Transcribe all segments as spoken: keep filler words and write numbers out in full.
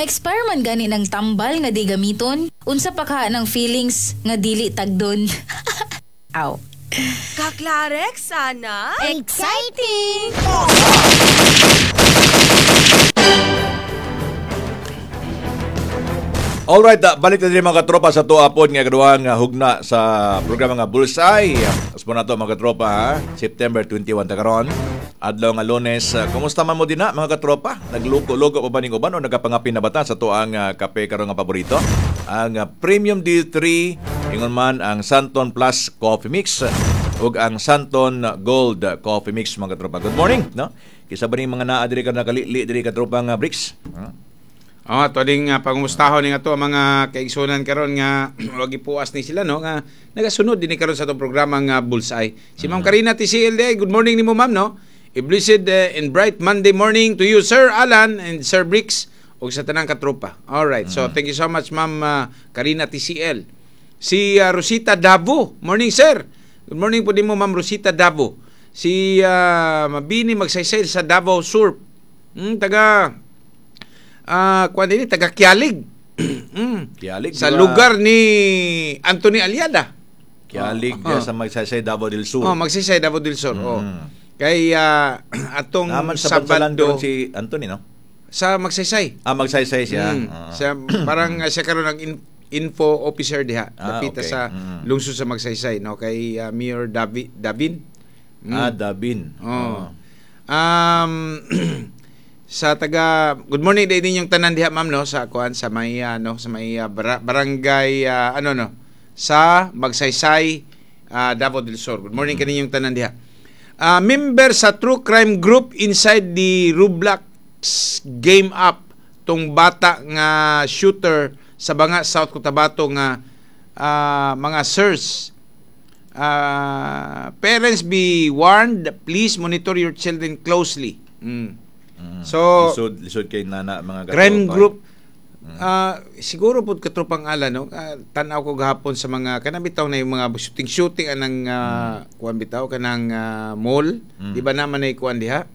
Ma-expire man gani ng tambal nga di gamiton. Unsa pa ka ng feelings nga dili tagdon. Aw. Kaklarex sana? Exciting! Alright, ah, balik na din mga katropa sa tuapod nga kaduha nga hugna sa programa nga Bullseye. Aspo na to mga katropa ha? September twenty-one ta karon. Adlaw nga Lunes. Ah, kumusta man mo dinha mga katropa? Nagluko-luko pa ba ning uban o nagapangapin na bata sa tuang ah, kape karon nga paborito? Ang ah, Premium D three, ingon man ang Santon Plus Coffee Mix ug ang Santon Gold Coffee Mix, mga katropa. Good morning, no? Kisa ba ning mga naa diri ka nakalili diri katropa nga Bricks? Huh? Oh, ato ding uh, pangumustahon ni ato ang mga kaigsunan karon nga wag ipuas ni sila, no, nga nagasunod din ni karon sa atong programa nga Bullseye. Si Ma'am Karina T C L D, good morning nimo, ma'am, no. A blessed uh, and bright Monday morning to you, Sir Alan and Sir Bricks, ug sa tanang katropa. All right. So thank you so much, Ma'am uh, Karina T C L. Si uh, Rosita Davo, morning, sir. Good morning po din mo, Ma'am Rosita Davo. Si uh, Mabini Magsaysay sa Davao Sur. Mm, taga ah kuan din taga Kialig. mm. Kialig, Sa di ba? Lugar ni Anthony Aliada. Kialig Oh. oh. sa Magsaysay, Davao del Sur. Oh, Magsaysay, Davao del Sur. Oh. Mm. Kay ah, atong Naman sa Bansalan Sabado karon si Anthony, no? Sa Magsaysay. Ah, Magsaysay siya. Mm. Ah. Siya, parang uh, siya karon ang in- info officer diha. Ah, Dapita okay. sa Mm. lungsod sa Magsaysay, no, kay ah, Mayor Davi, Davin. Mm. Ah, Davin. Oh. Um sa taga good morning din ninyong tanan diha, ma'am, no, sa kuan sa may ano sa may ah, bara- barangay ah, ano, no, sa Magsaysay, ah, Davao del Sur. Good morning kaninyong tanan diha. Ah, member sa True Crime Group inside the Roblox game app tong bata nga shooter sa Banga, South Cotabato nga ah, mga sirs. Ah, parents be warned, please monitor your children closely. Mm. Mm. So, lisod, lisod kay nana mga crime katropa. group ah siguro pud, katropang ala, no, Ah, tan-aw ko gahapon sa mga kanang bitaw na yung mga shooting shooting anang uh, kuan bitaw kanang ah, mall, Mm. di ba naman ay kuan diha,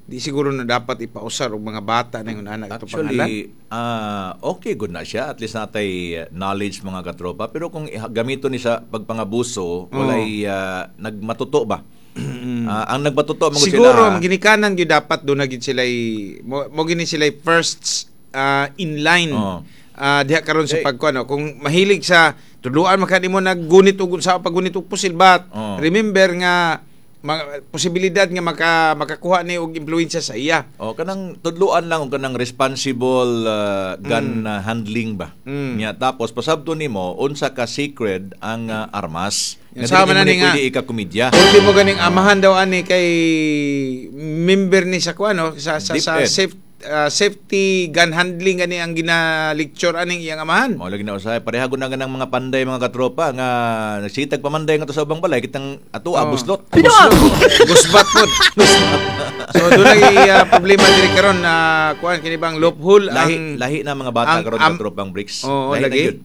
di siguro na dapat ipausar og mga bata na yung anak ito pangalan. Actually, ah okay good na siya. At least natay knowledge mga katropa. Pero kung iha- gamito ni sa pagpangabuso, walay ah, nagmatuto ba? Ah, ang nagmatuto man gud Siguro sila. ang ginikanan gyud dapat do na gyud sila mo, mo gini sila first ah, in line Oo. Ah, diha karon sa Eh. pagkuan, no? Kung mahilig sa tudluan maka nimo naggunit og sa paggunit og pusil, but Oo. remember nga ma- posibilidad nga maka makakuha ni og impluwensya sa iya. O kanang tudluan lang og kanang responsible ah, gun ah, handling ba. Mm. Nya tapos pasabto nimo unsa ka sacred ang ah, armas. Yung Nga sama dili na mo ni ni nga. pwede ikakomedya. Ultimo ganing amahan daw ani kay member ni sa kuan, no, sa sa, sa DepEd. safe ah, safety gun handling gani ang gina-lecture aning iyang amahan. Mao lagi na usahay pareha gud na ganang mga panday mga katropa nga nagsitag pamanday nga to sa ubang balay kitang ato Oh. buslot. Gusbat pod. So doon ay uh, problema diri karon na kuan kini bang loophole Lahi ang lahi na mga bata ang- karon am- katropang Bricks. Oo, Lahi na lagi. gyud.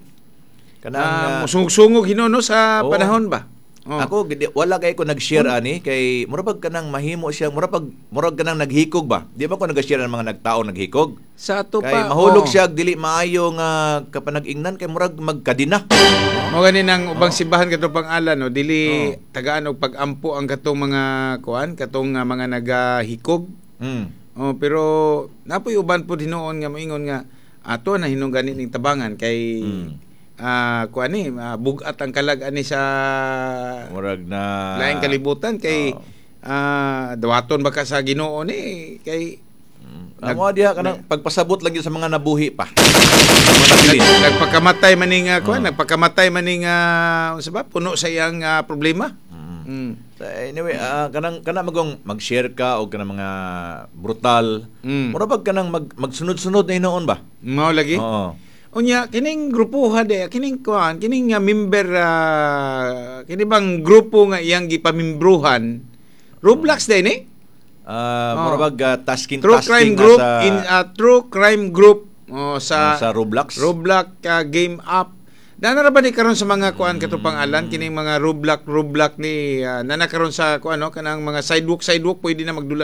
Kanang uh, ah, sungog-sungog hinuon, no, sa Oo. panahon ba? Oh. Ako gidi, wala kay ko nag-share ani kay mura pag kanang mahimo siya, mura pag murag kanang naghikog ba. Di ba ko nag-share ng mga nagtao naghikog? Sa ato Kay pa mahulog oo. siya og dili maayo nga kapanag-ingnan kay murag magkadina. Mo gani nang ubang simbahan katong pang-ala, no, dili Oo. tagaan og pag-ampo ang katong mga kuan katong nga mga nagahikog. Mm. Oh, pero napoy uban pud hinuon nga moingon nga ato na hinung gani ning tabangan kay Mm. ah kuan ni ah, bug-at ang kalag ani sa Murag na laing kalibutan kay Oo. ah dawaton baka sa Ginoo ni kay Mm. Ang mga diha kanang pagpasabot lang yun sa mga nabuhi pa. Mga nabilin. nag, nagpakamatay man ning uh, kuan Oo. nagpakamatay man ning ah, unsa ba puno sa iyang ah, problema. Mm. Mm. So, anyway, ah, kanang kana magong mag-share ka og kanang mga brutal. Mm. Mura pag kanang mag, magsunod-sunod na hinuon ba? Mao lagi. Oo. Unya kining grupuha de kining kuan kining nga member ah, kini bang grupo nga iyang gipamimbruhan Roblox din eh. Ah, Oo. mura bag ah, tasking True tasking Crime nga Group sa in ah, True Crime Group, oh, sa ah, sa Roblox. Roblox ah, game app. Dana ra ba ni karon sa mga kuan katong alan kining mga Roblox Roblox ni uh, nana karon sa kuan, no, kanang mga sidewalk sidewalk pwede na magdula.